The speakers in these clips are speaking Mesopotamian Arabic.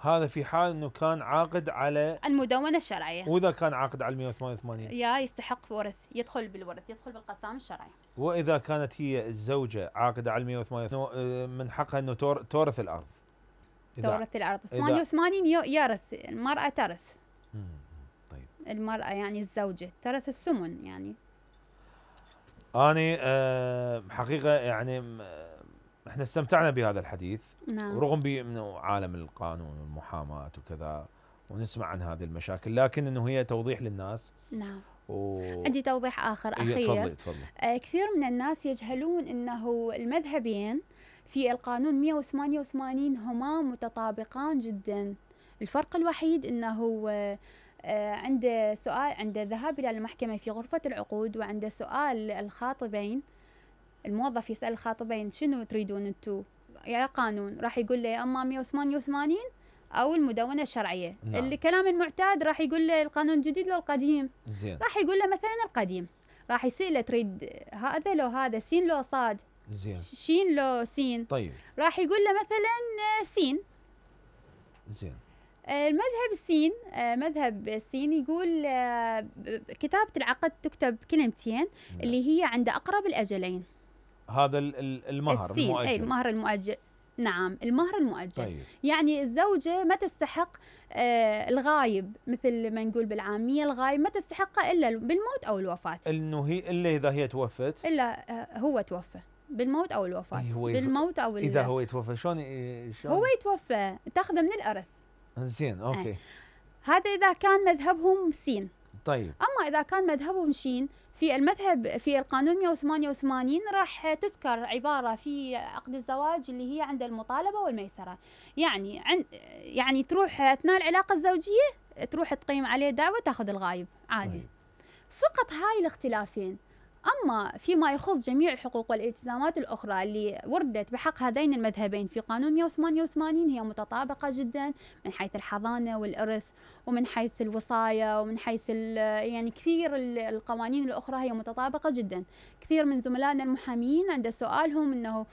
هذا في حال انه كان عاقد على المدونة الشرعية. واذا كان عاقد على 188 يا يستحق ورث، يدخل بالورث، يدخل بالقسام الشرعي. واذا كانت هي الزوجة عاقدة على 188 من حقها انه تورث الارض. تورث الارض 88 يرث المرأة، ترث. طيب. المرأة يعني الزوجة ترث الثمن يعني. اني حقيقة يعني احنا استمتعنا بهذا الحديث. نعم. ورغم بانه عالم القانون والمحاماة وكذا ونسمع عن هذه المشاكل، لكن انه هي توضيح للناس. نعم. عندي توضيح اخر اخير. تفضلي. كثير من الناس يجهلون انه المذهبين في القانون 188 هما متطابقان جدا. الفرق الوحيد انه عنده سؤال، عنده ذهاب الى المحكمة في غرفة العقود، وعنده سؤال الخاطبين. الموظف يسأل الخاطبين شنو تريدون انتو يا قانون، راح يقول له يا اما 188 او المدونة الشرعية. نعم. اللي كلام المعتاد راح يقول له القانون الجديد لو القديم. زين. راح يقول له مثلا القديم. راح يسأله تريد هذا لو هذا، سين لو صاد، زين، شين لو سين. طيب. راح يقول له مثلا سين. زين. المذهب السين، مذهب السين يقول كتابة العقد تكتب كلمتين. نعم. اللي هي عند أقرب الأجلين. هذا المهر المؤجل. أي المهر المؤجل. نعم، المهر المؤجل. طيب. يعني الزوجة ما تستحق الغايب، مثل ما نقول بالعامية الغايب ما تستحقه إلا بالموت أو الوفاة. إنه هي إلا إذا هي توفت. إلا هو توفى بالموت أو الوفاة. بالموت أو إذا هو يتوفى شلون هو يتوفى تاخذه من الإرث. زين، أوكي. هذا إذا كان مذهبهم سين. طيب. أما إذا كان مذهبهم شين، في المذهب في القانون 188 راح تذكر عبارة في عقد الزواج اللي هي عند المطالبة والميسرة. يعني تروح أثناء العلاقة الزوجية تروح تقيم عليه دعوة تأخذ الغايب عادي. طيب. فقط هاي الاختلافين. أما فيما يخص جميع الحقوق والالتزامات الأخرى اللي وردت بحق هذين المذهبين في قانون 188 هي متطابقة جدا، من حيث الحضانة والإرث، ومن حيث الوصاية، ومن حيث يعني كثير القوانين الأخرى هي متطابقة جدا. كثير من زملائنا المحامين عند سؤالهم إنه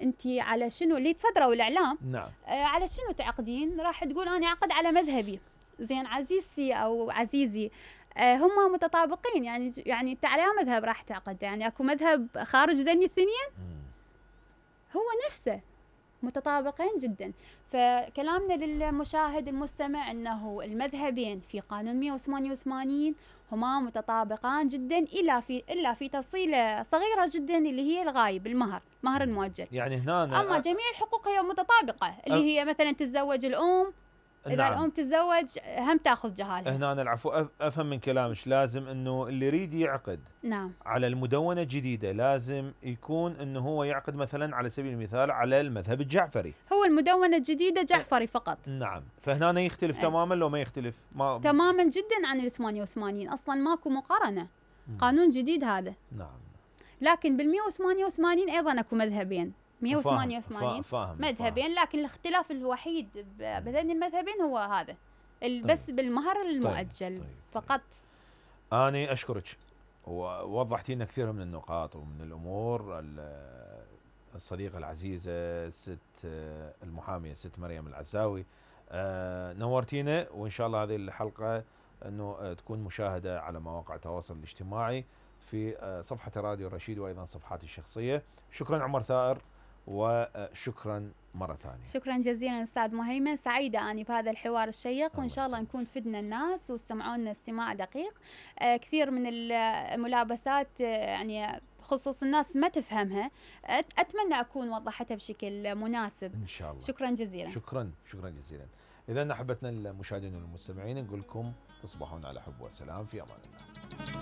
أنت على شنو اللي تصدروا الإعلام. نعم. على شنو تعقدين؟ راح تقول أنا أعقد على مذهبي. زين عزيزتي أو عزيزي، هم متطابقين. يعني انت على مذهب راح تعقد، يعني اكو مذهب خارج ذني الاثنين؟ هو نفسه متطابقين جدا. فكلامنا للمشاهد المستمع انه المذهبين في قانون 188 هما متطابقان جدا الا في تفصيله صغيره جدا اللي هي الغايب، المهر المؤجل. يعني هنا اما جميع الحقوق هي متطابقه، اللي هي مثلا تتزوج الام، إذا نعم. الأم تتزوج هم تأخذ جهالها. هنا العفو أفهم من كلامش لازم إنه اللي يريد يعقد نعم. على المدونة الجديدة لازم يكون إنه هو يعقد مثلا على سبيل المثال على المذهب الجعفري. هو المدونة الجديدة جعفري فقط. نعم. فهنا يختلف تماما لو ما يختلف تماما جدا عن ال 88 أصلا ماكو مقارنة. قانون جديد هذا. نعم. لكن بال 188 أيضا أكو مذهبين. 188 مذهبين، لكن الاختلاف الوحيد بين المذهبين هو هذا. بس بالمهر المؤجل. طيب. فقط. أنا أشكرك ووضحتي لنا كثير من النقاط ومن الأمور. الصديقة العزيزة ست المحامية ست مريم العزاوي، نورتينا، وإن شاء الله هذه الحلقة أنه تكون مشاهدة على مواقع التواصل الاجتماعي في صفحة راديو الرشيد وأيضا صفحاتي الشخصية. شكرا عمر ثائر، وشكرا مرة ثانية. شكرا جزيلا أستاذ مهيمن، سعيدة أني بهذا الحوار الشيق، وإن شاء الله نكون فدنا الناس واستمعوا لنا استماع دقيق. كثير من الملابسات يعني خصوص الناس ما تفهمها، أتمنى أكون وضحتها بشكل مناسب إن شاء الله. شكرا جزيلا. شكرا جزيلا. إذا أحبتنا المشاهدين والمستمعين نقول لكم تصبحون على حب وسلام، في أمان الله.